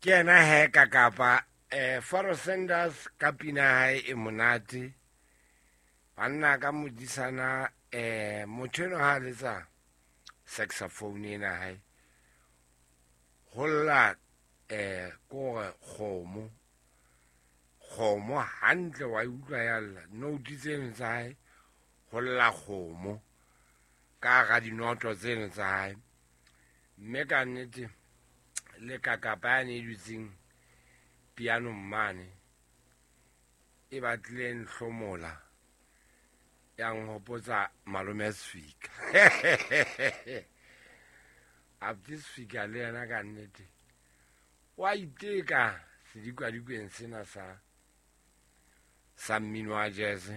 Ke yena he ka kapa Faro Sanders ka pina ya hae e monate. Banna ka modisana motho eno ha letsa saxophone ena hae ho lla kore kgomo kgomo hantle wa utlwa ya lla note tseno tsa hae ho lla kgomo ka hara dinoto tseno tsa hae. Mme ka nnete le kakapa yane e dutseng pianong mane e batlile nhlomola ya nhopotsa malome Sefika. Abdi Sefika le yena ka nnete wa iteka sedikadikweng sena sa mmino wa jazz,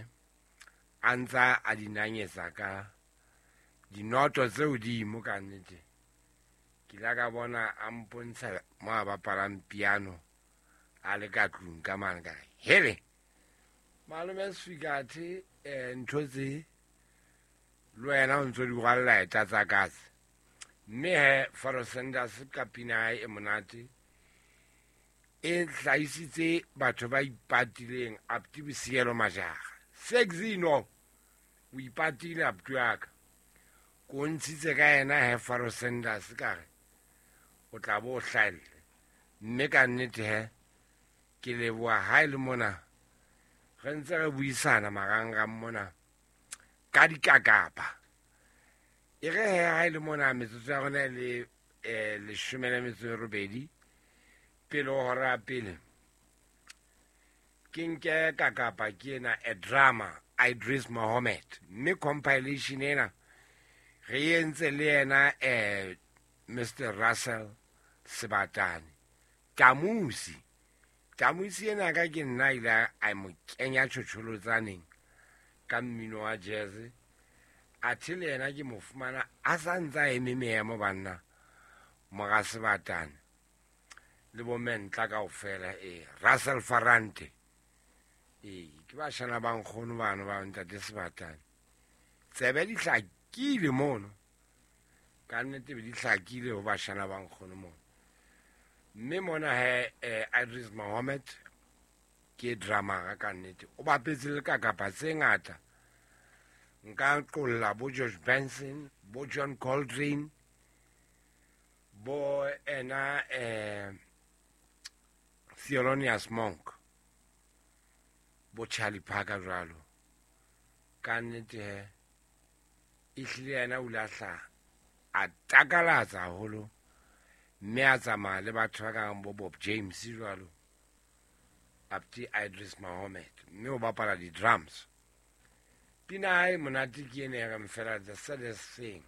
a ntsa a di nanyetsa ka dinoto tse hodimo. Ka nnete ke ile ka bona a mpontsha mo a bapalang piano a le ka tlung ka mane. Ka re hele malome Sefika, athe ntho tse le wena o ntso di rwalla eta tsa katse. Mme he Faro Sanders ka pina hae e monate e hlahisitse batho ba ipatileng. Apti Bosielo Majara Sexino o ipatile apti wa ka ko ntshitse ka yena he Faro Sanders ka re o tla bo o hlahelle. Mme ka nnete he ke leboha ha e le mona re ntse re buisana marangrang mona ka dikakapa. E re he ha e le mona metsotso ya rona e le 18 pele ho hora ya pele, ke nke kakapa ke ena a drama Idris Mohammed. Mme compilation ena re entse le yena Mr Russell Sebatane Tamusi. Tamusi ena ka ke nna ile a mo kenya tjhotjholotsaneng ka mmino wa jazz. Athe le yena ke mo fumana a sa ntse a eme meemo banna mora Sebatane le bo mentla kaofela. Russell Farante ke bashana ba nkgono bano ba ntate Sebatane. Tsebe di hlakile mono ka nnete, be di hlakile ho bashana ba nkgono mono. Mme mona he Idris Mohammed ke drummer ka nnete, o bapetse le kakapa tse ngata. Nka qolla bo George Benson, bo John Coltrane, bo ena Thelonious Monk, bo Charlie Parker jwalo. Ka nnete he ehlile yena o ile a hlaha a takalatsa haholo, mme a tsamaya le batho ba kang bo Bob James jwalo. Abdi Idris Mohammed mme o bapala di-drums. Pina hae monate ke ena e reng fela The Saddest Thing.